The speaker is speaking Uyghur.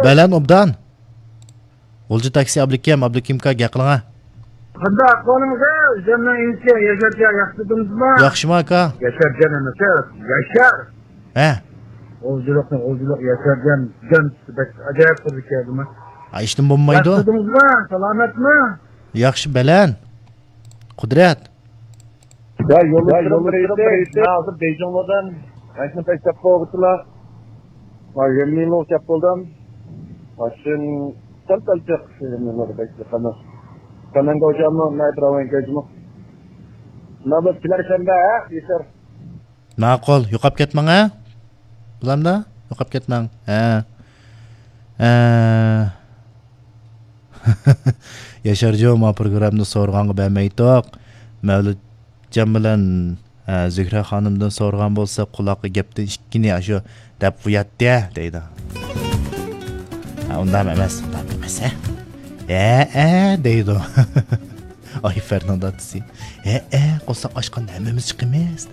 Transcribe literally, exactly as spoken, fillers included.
بەلەن ئوبدان. غۇلجا تاكسى ئابلىكىم، ئابلىكىمكا گەپ قىلىڭا. قانداق ئەھۋالىڭىز؟ ئۆزۈمنىڭ ئىنىسى ياشارجان، ياخشىمۇ؟ ياخشىمۇ ئاكا؟ ياشارجان ئەمەس، ياشار. ھە. غۇلجىلىقنى غۇلجىلىق ياشارجان، جان بەك ئاجايىپ قىلدى كەلدىمۇ. ھا، ھېچنېمە بولمايدۇ. ياخشىمۇ؟ سالامەتمۇ؟ ياخشى بەلەن. قۇدرەت. يا يولدىشىم بىر ئېيتتى، مەن ھازىر بېيجىڭدىن ماشىنا پەيسەپ بولغۇچىلا. ما يەنمىنۇ كەپ بولدۇم. ماشىنا سەل سەل چىق، يەنمىنۇ بەك چىقىمىز. سەنەڭگە ئوجاممۇ، نايت راۋان كەجمۇ. نابىت كېلەر شەنبە، ھە، يېسەر. ماقۇل، يوقاپ كەتمەڭ، ھە؟ بولامدا؟ يوقاپ كەتمەڭ. ھە. ھە. ياشارجان، ما پروگراممىنى سورىغانغا بەرمەيتتۇق. مەۋلۇتجان بىلەن، ھە، زۆھرە خانىمدىن سورىغان بولسا، قۇلاققا گەپتىن ئىككىنى ئاشۇ دەپ قوياتتى، دەيدۇ. ھە، ئۇنداق ئەمەس، ئۇنداق ئەمەس، ھە؟ ھە، ھە، دەيدۇ. ئايفەرنىڭ دادىسى. ھە، ھە، قورساق ئاچقاندا ھەممىمىز چىقىمىز.